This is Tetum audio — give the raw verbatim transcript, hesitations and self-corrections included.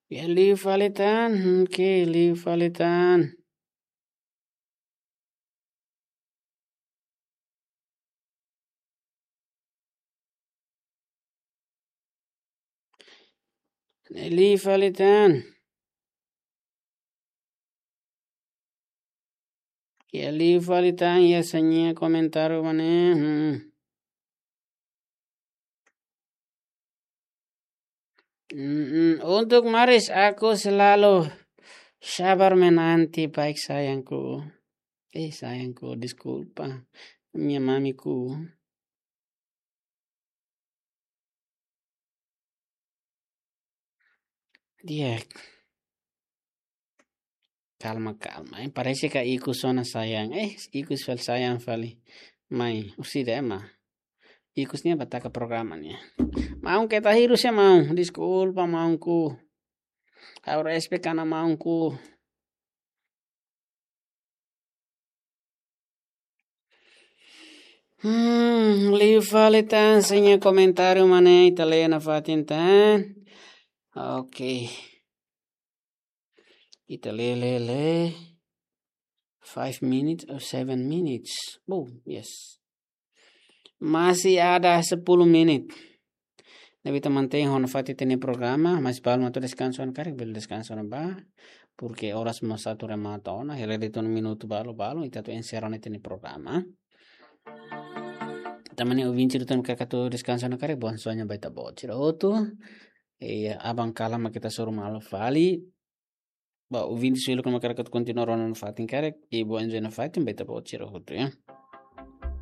Ya, liu fali tan, hmm, oke, liu fali tan. Ne'e liu fali tan. Ya, liu fali tan, ya, sira-nia komentáriu mak ne'e. Hmm. Mm-mm. Untuk Maris, aku selalu sabar menanti, baik sayangku. Eh, sayangku, deskulpa. Minha mamiku. Di'ak. Kalma, kalma. Eh, parese katak ikus ona sayang. Eh, ikus fali sayang fali. Mai, orsida ema. Ikus ne'e bá taka programa ne'e. Maun, keta hirus ya, maun. Deskulpa, maunku. Ha'u respeita ona, maunku. Hmm, liu fali tan, sira-nia komentáriu mak ne'e, ita lee nafatin tan. Oke. Ita lee, lee, lee. Five minutes or seven minutes. Oh, yes. Masih ada sepuluh menit. Ne'ebé ita mantein ho nafatin ita-nia programa, mas balu mak atu deskansa ona karik, bele deskansa ona bá. Porque oras mós atu remata ona, hela de'it ona minutu balu, balu, ita atu enserra ona ita-nia programa. Tanba ne'e ouvinte ida-ne'ebé mak hakarak atu deskansa ona karik, bom sonho ba ita-boot sira hotu. E aban kalan mak ita hasoru malu fali. Ba ouvinte sira-ne'ebé mak hakarak atu kontinua rona nafatin karik, e bom enjoy nafatin ba ita-boot sira hotu, ya.